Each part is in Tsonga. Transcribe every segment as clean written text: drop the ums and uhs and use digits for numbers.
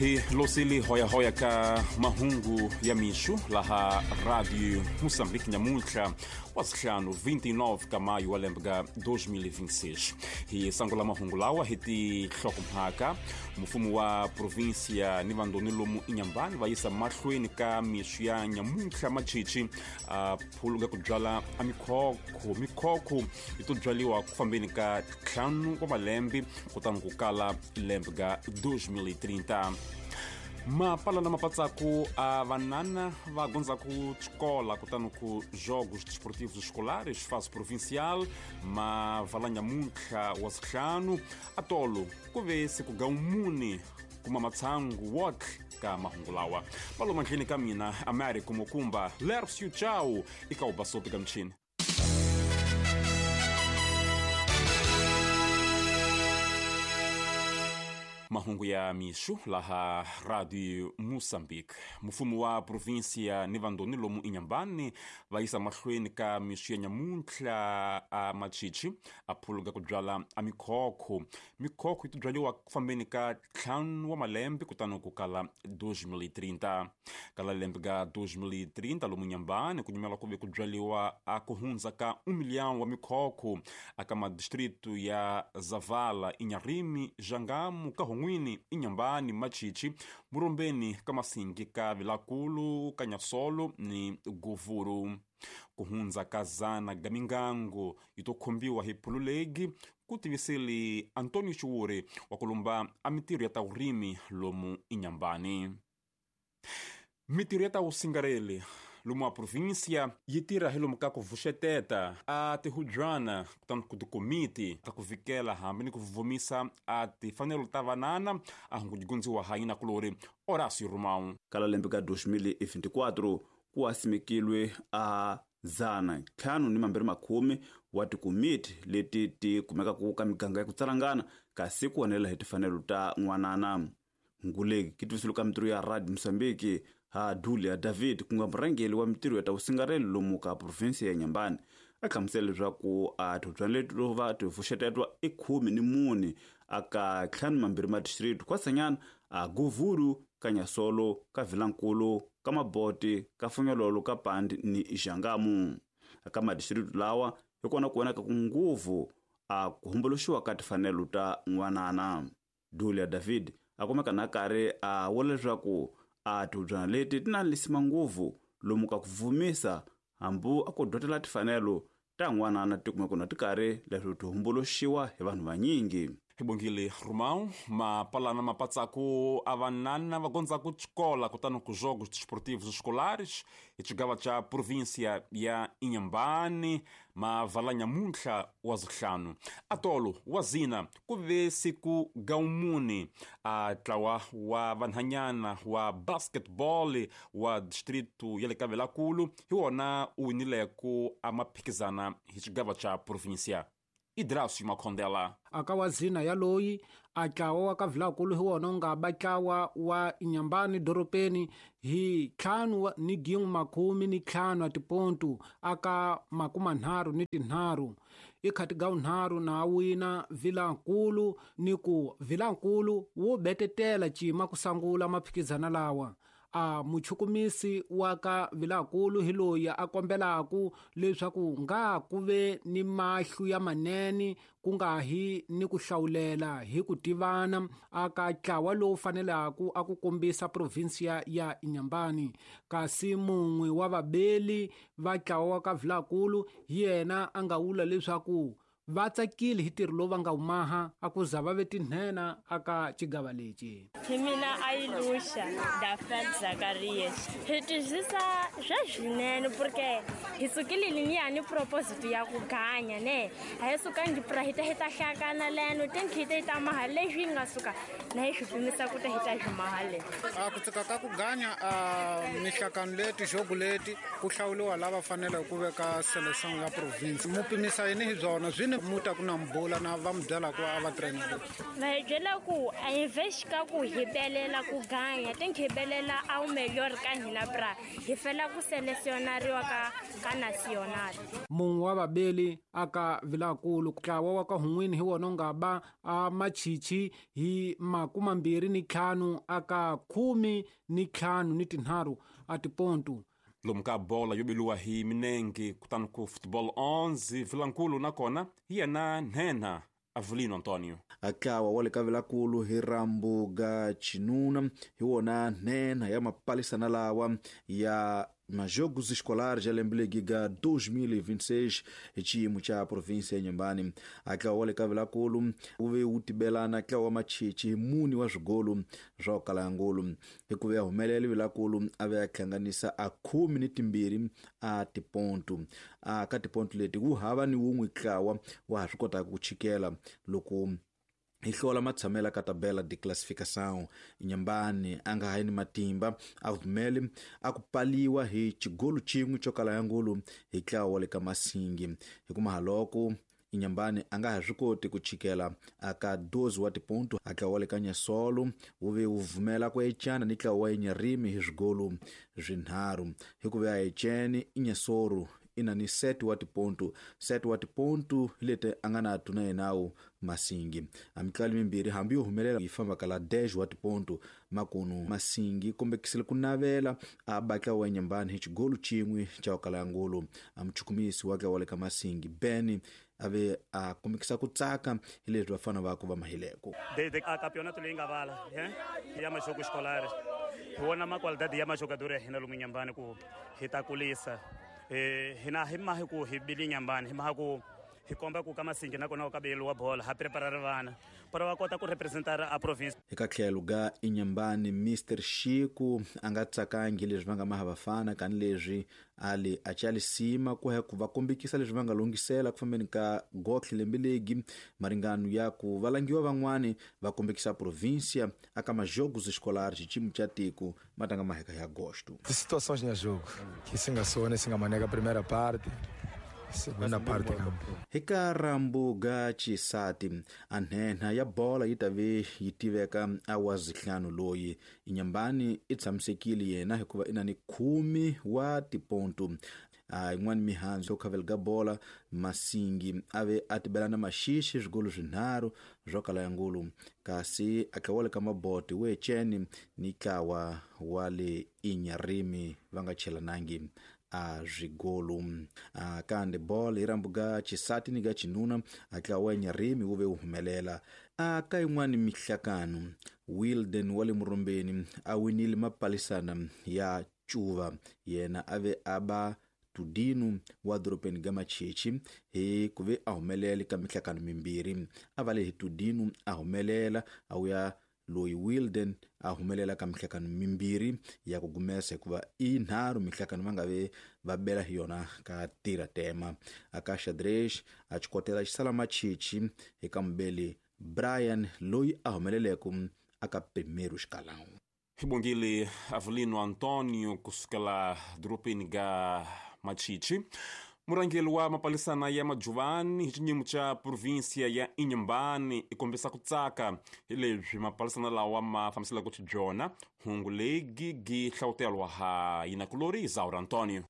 Hi losili hoyahoya ka mahungu ya mixo laha Radio Moçambique nyamuntlha wa sihlanu 29 ka maio wa lembe ka 2026. Hi sangula mahungu lawa hi tinhlokomhaka. Mfumo wa provinsia ni vandoni lomu Inhambane va yisa mahlweni ka mixo ya nyamuntlha machichi a phuluka ku byala a mikhokho. Mikhokho yi to byaliwa ku fambeni ka 5 wa malembe kutani ku kala lembe ka 2030. Mapala na mapatsaku a vanana va gondzaku xikola kutani ku jogos desportivos escolares fase provincial ma vala nyamuntlha wa sihlanu atolo ku ve siku ga mune kuma matshangu wotlhe ka mahungu lawa maloma ndleni ka mina Américo Mokumba Lercio Chau eka ubasopi ka michini. Mahungu ya mixo laha Radio Moçambique. Mfumo wa provinsia ni vandoni lomu Inhambane va yisa mahlweni ka mixo ya nyamuntlha a machichi a phuluka ku byala a mikhokho. Mikhokho yi ti byaliwa ku fambeni ka 5 wa malembe kutani ku kala 2030. Kala lembe ka 2030 lomu Inhambane ku nyumela ku ve ku byaliwa a ku hundza ka 1 milhão wa mikhokho aka madistrito ya Zavala, Inharime, Jangamo, Kahungwini, Inhambane, Machichi, Murumbeni, Kamasingi, ka Vilakulu, Kanyasolo ni Govuro. Ku hundza ka zana ga mingango yi to khombiwa hi phululegi ku tiviseli Antonio Chiuri wa ku lumba a mitirho ya ta vurimi lomu Inhambane. Mitirho ya ta vusingareli lomu a provinsia yi tirha hi lomu ka ku vuxeteta a tihubyana kutani ku tikomiti ta ku vikela hambi ni ku vumisa a tifanelo ta vanana a hungu gondziwa ha yina kulori Horácio Romão. Kala lembe ka 2024 ku asimekilwe a 520 wa tikomiti leti ti kumekaka ka miganga ya ku tsalangana kasi ku onela hi tifanelo ta n'wanana. Nguleki ki tiviselo ka mitirho ya Radio Moçambique ha Dulia David ku nga murhangeri wa mitirho ya ta vusingareli lomu ka provinsi ya Inhambane a hlamusela leswaku a tihubyana leti to va ti pfuxetetwa i 14 aka 52 madistrito kwasanyana a Govuru, Kanyasolo, ka Vilankulu, ka Maboti, ka Funyololo, ka Pandi ni Xangamu. Aka madistrito lawa hi kona ku vonaka ku nguvu a ku humbuluxiwa ka tifanelo ta n'wanana. Dulia David a kumeka na karhi a vula leswaku a tihubyana leti ti na lisima nguvu lomu ka ku vumisa hambi a ku dotela tifanelo ta n'wanana ti kumeka na ti karhi leswi ti humbuluxiwa hi vanhu vanyingi. Hibongile Romão, mapalana mapatsaku a vanana va gondzaku xikola kutani ku jogos desportivos escolares hi xigava xa província ya Inhambane mavala nyamuntlha wa zihlanu. Atolo wa zina ku ve siku ga mune a ntlawa wa vanhanyana wa basketball wa distrito ya le ka Velakulu hi wona u winileko a maphikizana hi xigava xa província. Idrasio Makhondela. Aka wa zina ya loyi a tlawa wa ka Vilakulu hi wona u nga ba tlawa wa Inhambane doropeni hi 5 ni 55 a tipontu aka 33 i khati ga 3 na wina Vilankulu ni ku Vilankulu wo betetela cima ku sangula maphikizana lawa. A muchukumisi wa ka Vilakulu hi loyi a kombelaku leswaku nga ku ve ni mahlu ya manene ku nga hi ni ku hlawulela hi ku tivana aka tlawa lowu fanelaku a ku kombisa provinsia ya Inhambane. Kasi mun'we wa vabeli va tlawa wa ka Vilakulu hi yena a nga vula leswaku va tsakile hi ntirho lowu va nga wumaha a ku za va ve tinhena aka xigava lexi. Hi mina Ailusha Dafet Zakarias. Hi twisisa swa swinene porque hi sukile ni proposito ya ku ganya ne. A hi sukangi pra hi ta hi ta hlakana leno tinkhite hi ta maha leswi nga suka na hi swi pimisa ku ta hi ta swi maha le. A ku tsaka ka ku ganya a mihlakano leti jogo leti ku hlawuliwa lava faneleke ku veka selection ya province. Mu pimisa yini hi byona swi ni mu ta ku na mbola na va mi byela ku a va trainer? Va hi byela ku a hi vexi ka ku hi belela ku ganya tinkhibelela a wu melhor ka hina bra hi fela ku selesionariwa ka national. Mun'we wa vabeli aka Vilakulu ntlawa wa ka Hun'wini hi wona wu nga ba a Machichi hi 25 aka 15 3 a tipontu. Lomu ka bola yo beliwa hi minenge kutani ku football 11 Vilankulu nakona hi yena nhenha Avelino Antonio. Ntlawa wa le ka Vilakulu hi Rambuga Chinuna hi wona nhenha ya mapalisana lawa ya majogos escolares ya lembe legi ga 2026 hi xiyimo xa província ya Nyambani. Ntlawa wa le ka Vilakulu wu ve wu tibelana ntlawa wa Machichi hi muni wa swigolo swa ku kala ngulu. Hi ku ve ya humelela, Vilakulu a ve ya hlanganisa a 12 a tipontu. A ka tipontu leti wu hava ni wun'we ntlawa wa ha swi kotaka ku chikela loko hi hlola matshamela ka tabela de classificação. Nyambani a nga hayi ni matimba, a vumeli a ku paliwa hi xigolo xin'we xo kala ya ngulu hi ntlawa wa le ka Masingi. Hi kuma haloko Inyambani a nga ha swi koti ku chikela aka 12 wa tiponto. A ntlawa wa le ka Nyasolo wu ve wu vumela ku ecana ni ntlawa wa Inyarimi hi swigolo swinharhu. Hi ku ve a ecene, Inyasoro i na ni 7 wa tipontu, 7 wa tipontu leti a nga na tuna yenawu Masingi. A mitlalo mimbirhi hambi yo humelela yi fambaka la 10 wa tipontu. Makunu Masingi kombekisile ku navela a batla wa Nyambani hi xigolo xin'we xa kala ngulu. A muchukumisi wa wa le ka Masingi Ben a ve a kombekisa ku tsaka hi leswi vafana vaku va mahileko. Desde a campeonato leyi nga vala ya majogos escolares, hi vona maqualidade ya majogador ya hina lomu Nyambani ku hi ta kulisa hina hi mahi ku hi bili Nyambani hi maha ku hi komba ku ka Masingi nakona ka beliwa bola ha preparare vana para va kota ku representar a province. Eka tlhelo ga Inyambani, Mr Shiku a nga tsakangi leswi va nga maha vafana kani leswi a li a chalisima ku ku va kombekisa leswi va nga longhisela ku fambeni ka gotlhe lembe legi maringano ya ku valangiwa van'wani va kombekisa província aka majogos escolares xiyimo xa tiko matanga maheka ya agosto. De situações no jogo que se engaçou, se engamanega a primeira parte, segunda parte campo. Hi ka Rambuga Chisati, a nhenha ya bola yi ta ve yi tiveka a wa zihlanu loyi Inyambani i tshamisekile yena hikuva i na ni 10 wa tipontu. A yin'wani mihandzu yo khavela ga bola, Masingi a ve a tibelana Maxixi swigolo swinharhu swo kala ya ngulu, kasi a tlawale ka Maboti wecheni ni ntlawa wa le Inyarimi va nga chelanangi a swigolo. A ka handball hi Rambuga Chisati ni ga Chinuna, a ntlawa wa Nyarimi wu ve wu humelela. A ka yin'wani mihlakano, Wilden wa le Murumbeni a winile mapalisana ya cuva. Yena a ve a ba Tudinu wa dorobeni ga Machichi hi ku ve a humelela ka mihlakano mimbirhi. A va le hi Tudinu a humelela, a wuya loyi Wilden a humelela ka mihlakano mimbirhi ya ku gumesa, hikuva i nharhu mihlakano va nga ve va bela hi yona ka tira tema. Aka xadrez a xikotela xisala Machichi eka mubeli Brian loyi a humeleleke aka primeiro escalão. Hi bongile Avelino Antonio kusukela dorobeni ga Machichi. Murhangeri wa mapalisana ya Majuvani hi xiyimo xa província ya Inhambane i kombisa ku tsaka hi leswi mapalisana lawa ma fambiselaka xibyona. Hungu legi gi hlawutelwa ha yinakulori Zaura Antonio.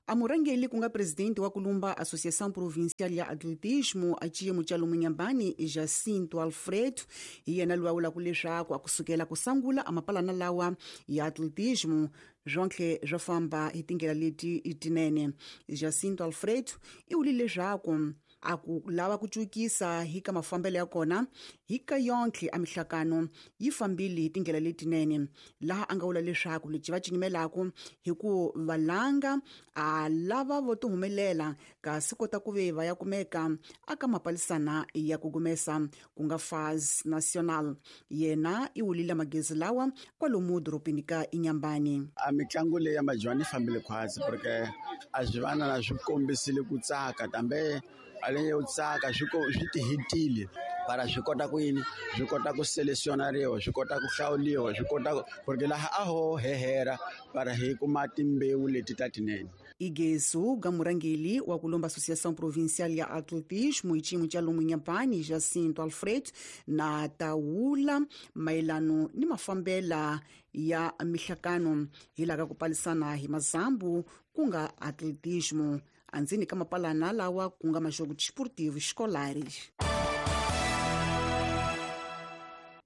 A murhangeri ku nga presidente wa kulumba Associação Provincial ya Atletismo a xiyimo xa lomu Nyambani, Jacinto Alfredo, hi yena loyi a vulaka leswaku a kusukela ku sungula a mapalana lawa ya atletismo swontlhe swo famba hi tindlela leti tinene. Jacinto Alfredo i vule leswaku a ku lava ku cukisa hi ka mafambelo ya kona hi ka yontlhe a mihlakano yi fambile hi tindlela letinene, laha a nga vula leswaku lexi va cinyimelaka hi ku valanga a lava vo ti humelela kasi kota ku ve va ya kumeka aka mapalisana ya ku gumesa ku nga faz national. Yena i wulile magezi lawa kwalomu dorobeni ka Inyambani. A mitlangu leyi ya Majwani yi fambile khwatsi porque a swi vana na swi kombisile ku tsaka tambe. Além yo tsaka swi swi ti hitile para swi kota ku yini, swi kota ku selecionariwa, swi kota ku hlawuliwa, swi kota porque laha a ho hehera para hi kuma timbewu leti ta tinene. Igezu Gamurangeli wa kulomba Associação Provincial ya Atletismo e Timo cha lomu Inhambane, Jacinto Alfredo, na taula mayelano ni mafambela ya mihlakano hi laka ku palisana hi mazambu ku nga atletismo andzeni ka mapalana lawa ku nga majogo desportivo escolares.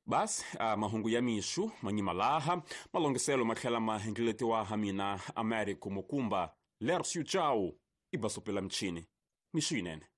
Basi mahungu ya mixu manyima laha malongiselo ma tlhela ma hengeletiwa ha mina Américo Mukumba. Lercio Chau, ibasopela mchini. Mixu yinene.